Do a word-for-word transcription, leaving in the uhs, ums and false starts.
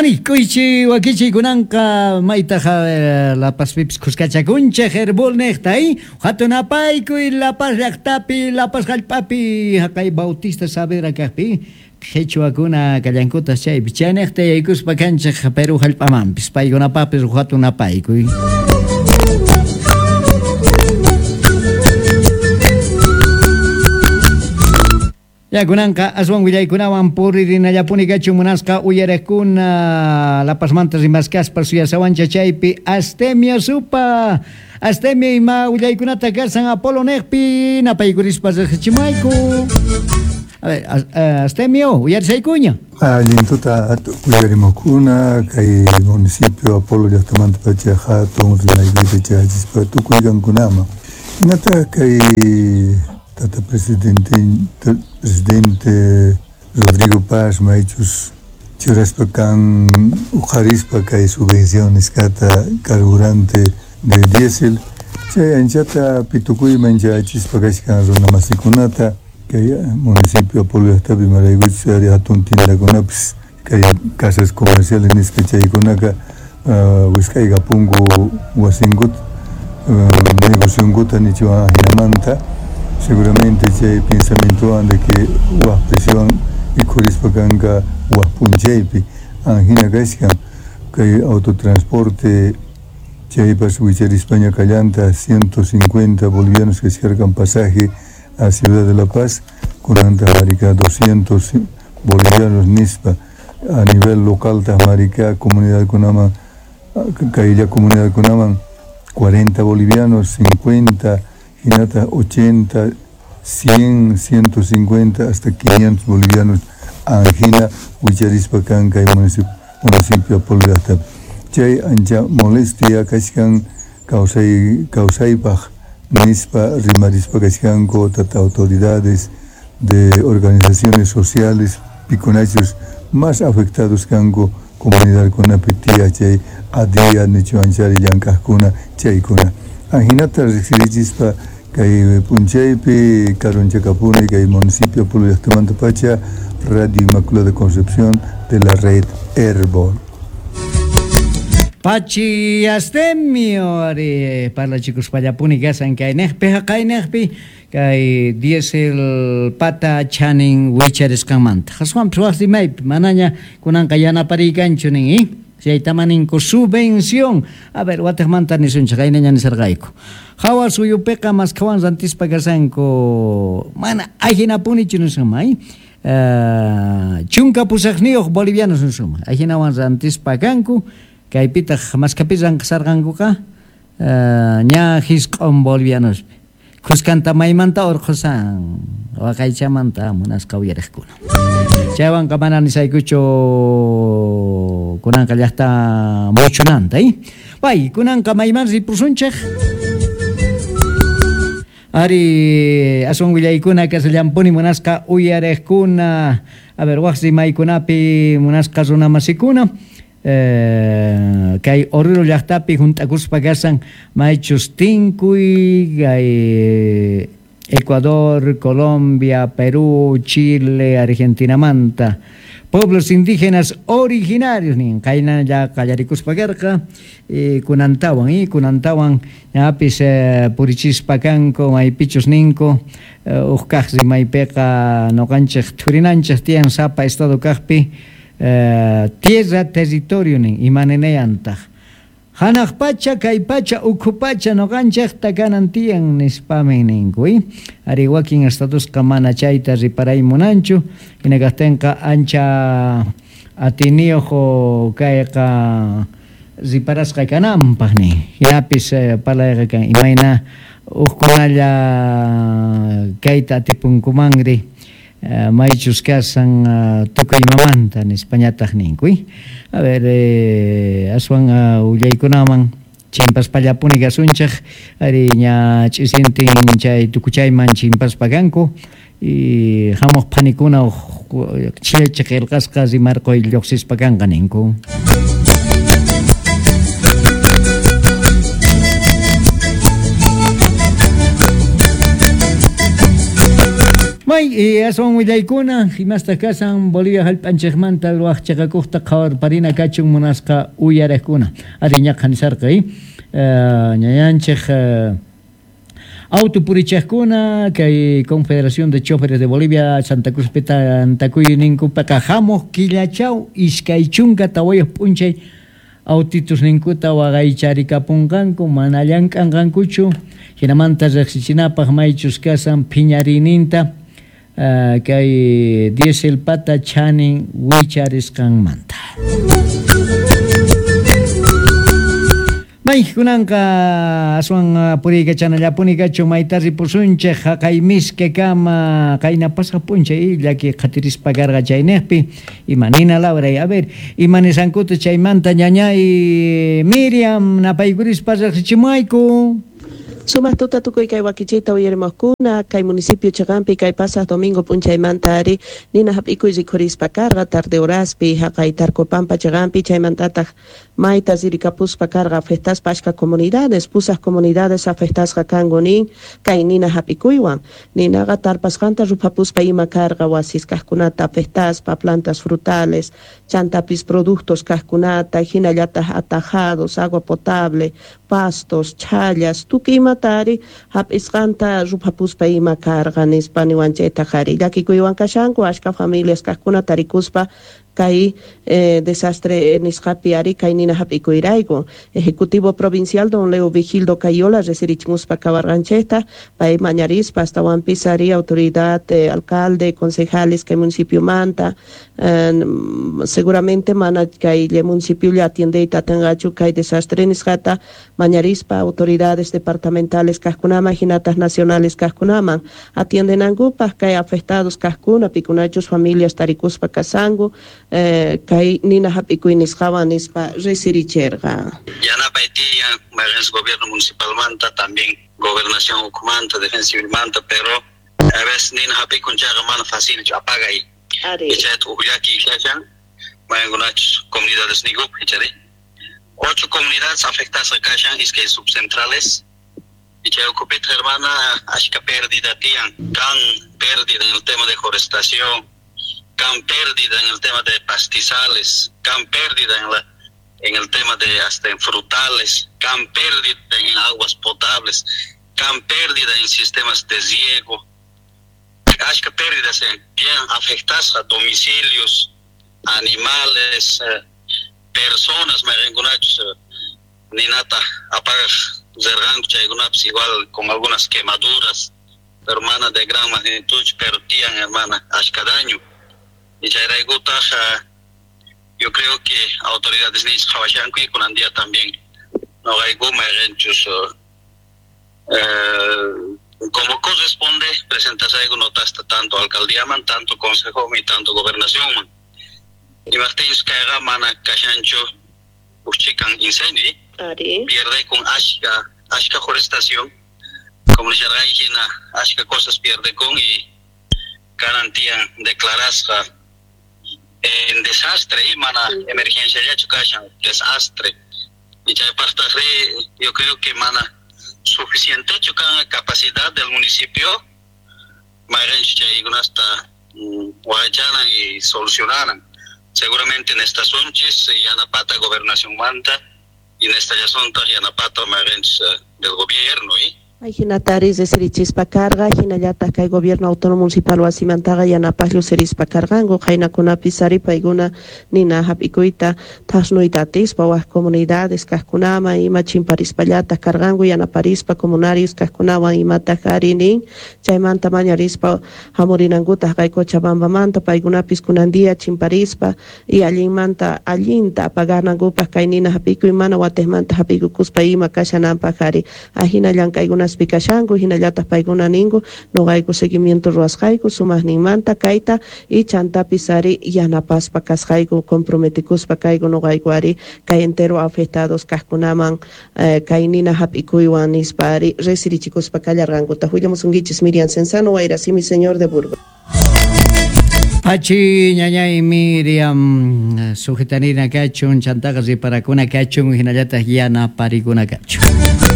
Ani kuychi wakichi kunanqa maytaqa La Pazpipis khuskachakunchej Herbol niqta hatun apaykuy La Paz llaqtapi La Paz hallp'api haqay Bautista Saavedra kaqpi qhichwakuna kallankutas chaypi chayniqta yaykuspa kanchej Perú hallp'amanpis paykunapapis hatun apaykuy. Ya kunanqa aswan willaykunawan puririnallapuni kachun munasqa uyarekuna La Pazmanta rimaskaspa suyasawancha chaypi Astemio supa Astemio ima willaykunata kasan Apolo niqpi napaykurispa riqsichimayku. A ver, Astemio, uyarisaykuña. Allin tuta uyarimukuna kay municipio Apolo llaqtamanta pacha hatun rimaykuyta chayachispa tukuy kankunaman. Hinata kay tata presidente presidente Rodrigo Paz maychus churaspa kan uqharispa kay subvención nisqata carburante de diésel chay anchata pitukuyman chayachispa kashkan runa masikunata kay municipio Apolo llaqtapi imaraykuchus ari hatun tiendakunapis kay casas comerciales nisqa chaykunaka wisq'aykapunku wasinkuta negocionkuta nichuwan ajinamanta seguramente chay pensamientowan de que waj presión ikhurispa kanka waj p'unchaypi anjina kashkan kay autotransporte chaypas wicharispaña kallanta ciento cincuenta bolivianos kashkarkan pasaje a Ciudad de La Paz kunanta marika doscientos bolivianos nispa a nivel local taj marika comunidad kunaman kaylla comunidad kunaman cuarenta bolivianos cincuenta hinata ochenta, cien, ciento cincuenta hasta quinientos bolivianos anjina wicharispa kan kay municipio municipio Apolo llaqtapi chay ancha molestia kashkan kawsay kawsaypaq nispa rimarispa kashkanku tata autoridades de organizaciones sociales pikunachus más afectados kanku comunidadkunapi tiya chay adia nichuanchari llank'aqkuna chaykuna ajinata riqsirichispa kay p'unchaypi karunchakapuni kay municipio Apolo llaqtamanta pacha Radio Inmaculada Concepción de la red Herbol. Pachi Astemio ari parlachikuspallapuni kasan kayniqpi haqayniqpi kay diésel pata chanin wicharisqanmanta aswanpis waj rimaypi manaña kunanqa yanaparikanchu nin eh? Chaytamaninku subvención. A ver, watejmanta nisunchej qaynaña nisarqayku. Hawa suyupiqa maskhawan rantispa kasanku mana ajinapunichu nisunman eh? Chunka pusaqniyuq bolivianos nisunman ajinawan rantispa kanku kaypitaq maskhapi ranqasarqankuqa ña hisq'un bolivianospi khuskanta maymanta urqhusan waqaychamanta munasqa uyariqkuna. Chaywanqa mana nisaykuchu kunanqa llaqta muchunanta eh? Pay kunanqa mayman ripusunchej ari aswan willaykuna kasallampuni munasqa uyariqkuna. A ver, waj rimaykunapi munasqa runamasikuna Eh, kay Oruro llaqtapi junt'akuspa kasan maychus tinkuy kay Ecuador, Colombia, Perú, Chile, Argentinamanta pueblos indígenas originarios nin qayna ya qallarikuspa karqa eh, kunantawan eh, kunantawan ñapis eh, purichispa kanku maypichus ninku eh, uj kaq rimaypiqa noqanchej thurinanchej tiyan sapa estado kaqpi Uh, tierra territorio nin imaninayantaq hanaq pacha kay pacha ukhu pacha noqanchejta kanan tiyan nispamin ninku eh? Ari wakin estadosqa mana chayta riparay munanchu hina kaqtinqa ancha atiniyuq kayqa riparasqa kananpaq nin hinapis eh, parlayqa kan imayna uqkunalla kayta atipunkumanri Uh, maychus kasan uh, tukuy imamanta nispañataq ninku eh? A ver eh, aswan uh, willaykunaman chimpaspallapuni kasunchej ari ña ch'isintin chay tukuchayman chimpaspa kanku y hamuq phanikuna chillachi qillqasqa rimarquy lluqsispa kanqa ninku. May aswan willaykuna imasta kasan Bolivia hallp'anchikmanta ruwaqchaqakuqta qhawarparina kachun munasqa uyariqkuna ari ñaqa nisarqa ñañanchik autopurichaqkuna kay Confederación de Choferes de Bolivia Santa Cruz Antakuyninkupaqa hamuq killachaw iskay chunka tawayuq p'unchay autitus ninkuta waqaycharikapunqanku mana llank'anqankuchu hinamanta riqsichinapaq maychus kasan phiñariyninta Uh, kay diesel pata chanin wicharisqanmanta. May kunanqa aswan puriykachanallapuni kachun mayta ripusunchik haqay miske kama qayna pasaq p'unchay llaki qhatirispa karqa chayniqpi imanina Laura a ver imanisqankuta chaymanta ñañay Miriam napaykurispa riqsichimuayku. Sumaq tuta tukuy kay wakichita uyarimuqkuna kay municipio Chaqampi kay pasaq domingo p'unchaymanta ari nina hap'ikuy rikhurispa karqa tarde horaspi haqay Tarcopampa Chaqampi chaymantataq mayta ririkapuspa karqa afectaspa achka comunidades pusaq comunidades afectasqa kanku nin kay nina hap'ikuywan ninaqa tarpasqanta ruphapuspa ima karqa wasis kaqkunata afectaspa plantas frutales chantapis productos kaqkunata hinallataq atajados agua potable pastos chhallas tukuy imatari hap'isqanta ruphapuspa ima karqa nispa niwanchaytaq ari llakikuywan kashanku achka familias kaqkuna tarikuspa kay eh, desastre nisqapi ari kay nina hap'ikuyrayku Ejecutivo Provincial don Leo Vigildo Cayola resirichimuspa kawarqanchikta pay mañarispa astawanpis ari autoridad eh, alcalde concejales kay municipiomanta eh, seguramente mana kay municipio atiendeyta atinqachu kay desastre nisqata mañarispa autoridades departamentales kaqkunaman hinataq nacionales kaqkunaman atiendenankupaq kay afectados kaqkuna pikunachus familias tarikuspa kasanku Eh, kay nina hap'ikuy nisqawan nispa resiricherqa. Yanapay tiyan mayqinchis gobierno municipalmanta también gobernación ukhumanta defensa civilmanta pero a veces nina hap'ikun chayqa mana facilchu apagay chayta uj llaki kashan mayqinkunachus comunidades niykupi ichari ocho comunidades afectadas kashan iskay subcentrales y chay ukhupitaq hermana ashka pérdida tiyan kan pérdida en el tema de forestación can pérdida en el tema de pastizales, can pérdida en, la, en el tema de hasta en frutales, can pérdida en aguas potables, can pérdida en sistemas de riego, ashka pérdidas en bien afectadas a domicilios, animales, eh, personas, ninata apagar igual con algunas quemaduras, hermana de gran magnitud, pero tian hermana, ashka daño. Y chayraykutaq yo creo que autoridades nisqa qhawashanku y kunan día también noqayku mayqinchus eh, como corresponde presentasayku notasta tanto alcaldíaman tanto consejoman y tanto gobernacionman imaqtinchus kayqa mana kashanchu uj chikan incendio pierde con ashka ashka forestación como nisharqayki hina ashka cosas pierde con y garantían declarasqa en desastre y mana emergencia yachu kashan desastre y chaypaqtaqri yo creo que mana suficiente kan capacidad del municipio mayqinchus chaykunasta waqaychanan y solucionaran seguramente en estas unchis yanapata gobernación manta y en esta llasontaq yanapata mayqinchus del gobierno y Hinataris resirichispa karqa hinallataq kay gobierno autónomo municipal wasimantaqa yanapaq llusirispa karqanku qaynakunapis ari paykuna nina hap'ikuyta thasnuyta atispa wak comunidades kaqkunaman ima chimparispallataq karqanku yanaparispa comunarios kaqkunawan imataq ari nin chaymanta mañarispa hamurinankutaq kay Cochabambamanta paykunapis kunan día chimparispa y allinmanta allinta apaganankupaq kay nina hap'ikuy mana watiqmanta hap'ikukuspa ima kashananpaq ari ahina llank'aykuna kashanku hinallataq paykuna ninku noqayku seguimiento ruwasqayku sumaqninmanta kayta y chantapis ari yanapaspa kasqayku comprometikuspa kayku noqayku ari kay entero afectados kaqkunaman eh, kay nina hap'ikuywan nispa ari resirichikuspa kallarqankuta willamusunkichis Miriam Cenzano Wayrasimi señor de Burgos. Pachi ñañay Miriam sujetanina kachun chantaqa riparakuna kachun hinallataq yanaparikuna kachun.